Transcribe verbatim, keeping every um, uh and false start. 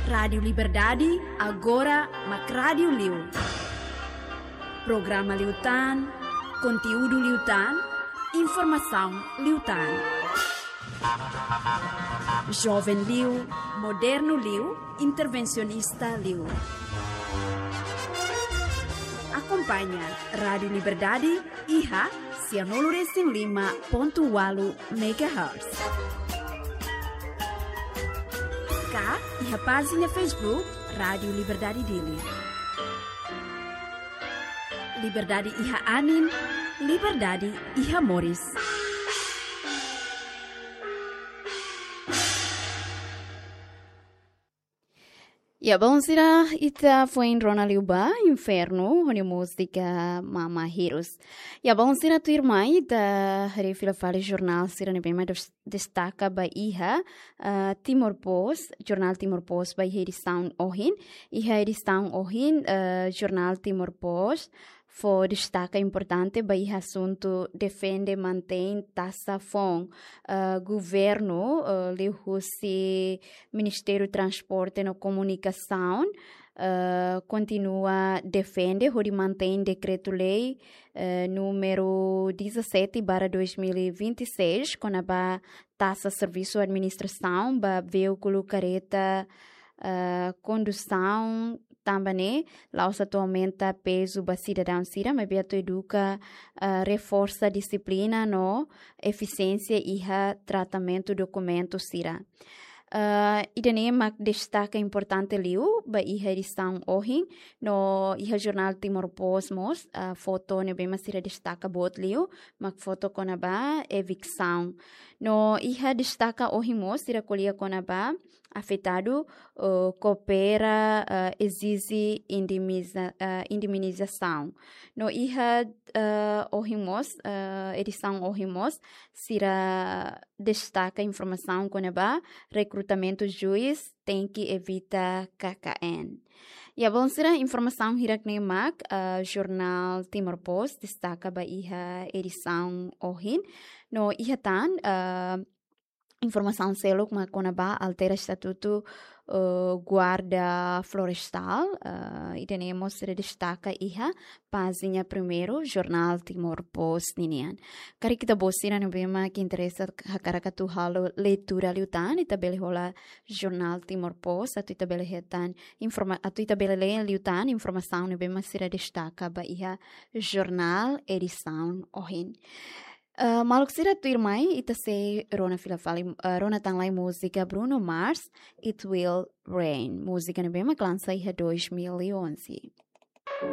Rádiu Liberdade, agora mak rádiu liu. Programa liután, konteúdu liután, informasaun liután. Joven liu, modernu liu, intervensionista liu. Akompaña Rádiu Liberdade iha sianulu resin lima pontu ualu megahertz. Ka iha pájina Facebook Rádiu Liberdade Dili. Liberdade iha anin, liberdade iha moris. Ya, bainhira ita foin rona liu ba Infernu, ho nia múzika Mama Hirus. Ya, bainhira tuirmai ita haree fila fali jornál sira ne'ebé mak des-, destaka ba iha, ah, Timor Post, jornál Timor Post ba iha edisaun ohin. Iha edisaun ohin, ah, jornál Timor Post fó destaka importante ba iha asuntu defende mantein taxa foun. Ah, governu, ah, liuhusi Ministériu Transporte no Komunikasaun, ah, kontinua defende hodi mantein dekretu-lei, eh, númeru dezassete barra dois mil e vinte e seis, kona-ba taxa servisu administrasaun ba veíkulu kareta, ah, kondusaun, tanba ne'e la'ós atu aumenta pezu ba sidadaun sira, maibé atu eduka, ah, reforsa dixiplina no efisiénsia iha tratamentu dokumentu sira. Ah, ida-ne'e mak destaka importante liu ba iha edisaun ohin, no iha jornál Timor Post mós, ah, foto ne'ebé mak sira destaka boot liu, mak foto kona-ba eviksaun. No iha destaka ohin mós sira ko'alia kona-ba afetadu, eh, koopera, eh, ezije indemniza-, eh, indemnizasaun. No iha, eh, ohin mós, eh, edisaun ohin mós, sira destaka informasaun kona-ba rekrutamentu juís tenke evita K K N. Ya, bainhira informasaun hirak-ne'e mak, eh, jornál Timor Post destaka ba iha edisaun ohin. No iha tan, eh, informasaun seluk mak kona-ba altera estatutu, eh, guarda florestál, eh, ida-ne'e mós sira destaka iha pájina primeiru jornál Timor Post ninian. Karik ita-boot sira ne'ebé mak interesa hakarak atu halo leitura liután, ita bele hola jornál Timor Post, atu ita bele hetan informa-, atu ita bele lee liután informasaun ne'ebé mak sira destaka ba iha jornál edisaun ohin. Eh, maluk sira, tuirmai ita sei rona fila fali, eh, rona tan lai múzika Bruno Mars, It Will Rain. Múzika ne'ebé mak lansa iha dois mil e onze.